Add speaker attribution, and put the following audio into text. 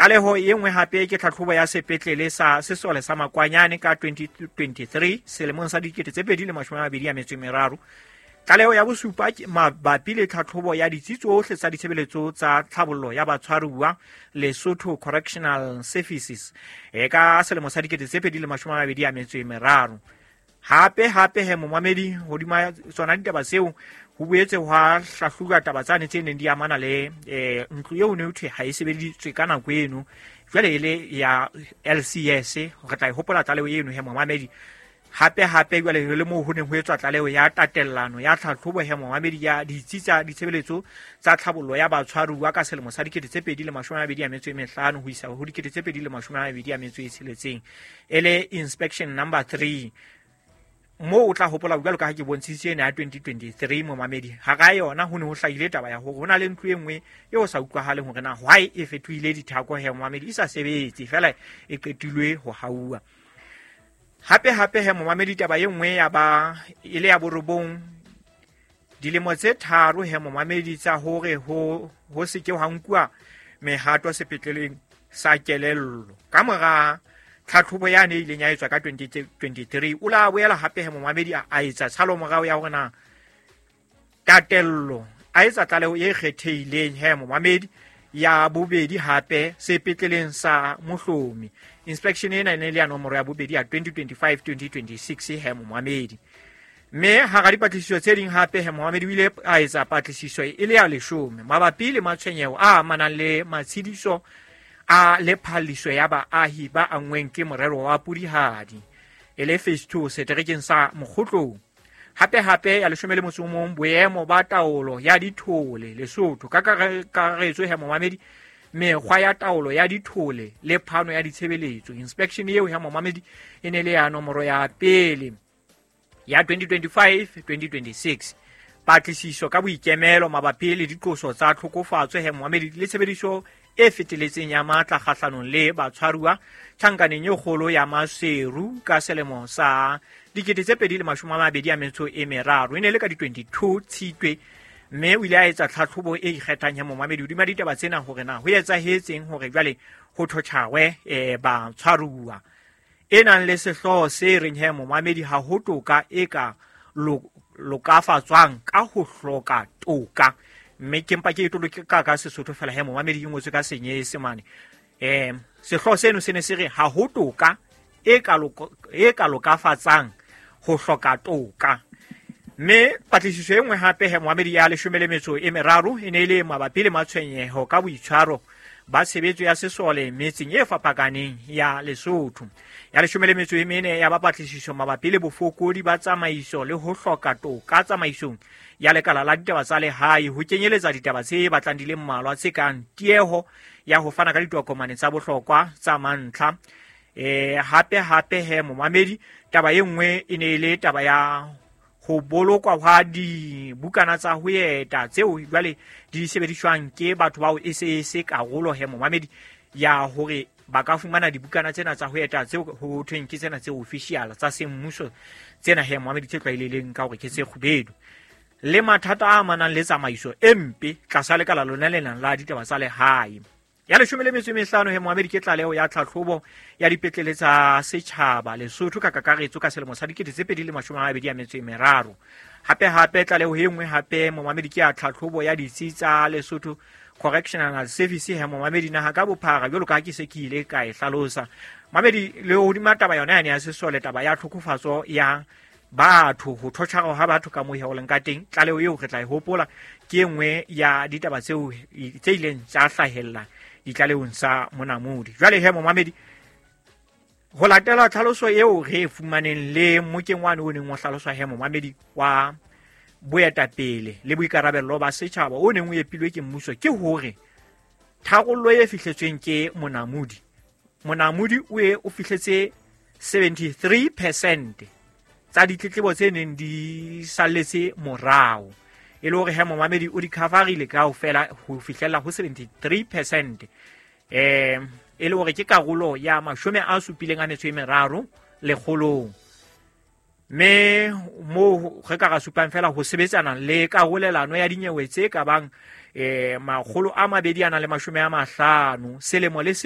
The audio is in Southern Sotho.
Speaker 1: Tlaleho e nngwe hape ke tlhatlhobo ya sepetlele sa sesole sa Makwanyane ka 2023, selemong sa 2023. Tlaleho ya bosupa mabapi le tlhatlhobo ya ditsi tsohle tsa ditshebeletso tsa tlhabollo ya batshwaruwa, Lesotho Correctional Services, e ka selemo sa 2023. Hape hape he, momamedi, hodima tsona ditaba tseo ho boetse hwa hlahlobuwa taba tsane tse neng di amana le ntlo eo ne ho thwe ha e sebeditswe ka nako eno, jwale e le ya LCS. Re tla e hopola tlaleho eno he, momamedi. Hape hape jwale le moo ho neng ho etswa tlaleho ya tatellano ya tlhatlhobo he, momamedi, ya ditsi tsa ditshebeletso tsa tlhabollo ya batshwaruwa ka selemo sa 2025 ho isa ho 2026, e le inspection number 3. Moo o tla hopola, jwalo ka ha ke bontshitse ena ya 2023, momamedi, hara yona ho ne ho hlahile taba ya hore ho na le ntlo e nngwe e o sa utlwahaleng hore na why e fetohile dithako he, momamedi, e sa sebetse fela e qetilwe ho hauwa. Hape hape he, momamedi, taba e nngwe ya ba e le ya borobong, dilemo tse 3 he, momamedi, tsa hore ho se ke hwa nkuwa mehato sepetleleng sa kelello ka mora tlhatlhobo yane e ileng ya etswa ka 2023. O la boela hape he, momamedi, a etsa tshalomorao ya hore na tatello, a etsa tlaleho e kgethehileng he, momamedi, ya bobedi hape sepetleleng sa Mohlomi. Inspection ena e ne le ya nomoro ya bobedi ya 2025 2026 he, momamedi. Mme hara dipatlisiso tse ding hape he, momamedi, o ile a etsa patlisiso e le ya 10 mabapi le matshwenyeho a amanang le matshediso a le phalliso ya baahi ba anngweng ke morero wa Pudihadi, e le phase 2 seterekeng sa Mokgotlong. Hape hape ya 11, boemo ba taolo ya dithole Lesotho ka kakaretso he, momamedi, mekgwa ya taolo ya dithole le phano ya ditshebeletso. Inspection eo he, momamedi, e ne le ya nomoro ya pele ya 2025 2026. Patlisiso ka boikemelo mabapi le diqoso tsa tlhokofatso he, momamedi, le tshebediso e feteletseng ya matla kgahlanong le batshwaruwa tjhankaneng e kgolo ya Maseru ka selemo sa 2023, e ne le ka di-22 Tshitwe. Mme o ile a etsa tlhatlhobo e ikgethang ya, momamedi, hodima ditaba tsena, hore na ho etsahetseng hore jwale ho thotjhawe batshwaruwa, e nang le sehlooho se reng he, momamedi, ha ho toka e ka lokafatswang ka ho hloka toka. Mme ke mpa ke e toloke ka Sesotho fela he, momamedi, e ngotswe ka Senyesemane. Sehlooho seno se ne se re ha ho toka e ka lokafatsang ho hloka toka. Mme patlisiso e nngwe hape he, momamedi, ya 13 e ne e le mabapi le matshwenyeho ka boitshwaro ba tshebetso ya sesole metseng e fapakaneng ya Lesotho. Ya 14 ya ba patlisiso mabapi le bofokodi ba tsamaiso le ho hloka toka tsamaisong ya lekala la ditaba tsa lehae, ho kenyeletsa ditaba tse batlang di le mmalwa tse kang tieho ya ho fana ka ditokomane tsa bohlokwa tsa mantlha. Hape hape he, momamedi, taba e nngwe e ne e le taba ya ho bolokwa hwa dibukana tsa ho eta tseo jwale di sebediswang ke batho bao e se e se karolo he, momamedi, ya hore ba ka fumana dibukana tsena tsa ho eta tseo ho thweng ke tsena tse official tsa semmuso tsena he, momamedi, tse tlwaelehileng ka hore ke tse kgubedu, le mathata a amanang le tsamaiso e mpe tlasa lekala lona le nang la ditaba tsa lehae. Ya 15 he, momamedi, ke tlaleho ya tlhatlhobo ya dipetlele tsa setjhaba Lesotho ka kakaretso ka selemo sa 2023. Hape hape tlaleho e nngwe hape, momamedi, ke ya tlhatlhobo ya ditsi tsa Lesotho Correctional Service he, momamedi, naha ka bophara, jwalo ka ha ke se ke ile ka e hlalosa, mamedi, le hodima taba yona yane ya sesole, taba ya tlhokofatso ya batho, ho thotjhara ha batho ka moo ho leng ka teng. Tlaleho eo re tla e hopola, ke e nngwe ya ditaba tseo tse ileng tsa hlahella ditlalehong sa Monamodi. Jwale he, momamedi, ho latela tlhaloso eo re e fumaneng le mokeng wane o neng o hlaloswa he, momamedi, wa boetapele le boikarabello ba setjhaba o neng o epilwe ke mmuso, ke hore tharollo e fihletsweng ke Monamodi, Monamodi o e o fihletse 73% tsa ditletlebo tse neng di salletse morao, e le hore he, momamedi, o di coverile kaofela ho fihlella ho 73%, e le hore ke karolo ya 73 lekgolong. Mme moo re ka ra supang fela ho sebetsana le karolelano ya dinyewe tse ka bang 250 selemo le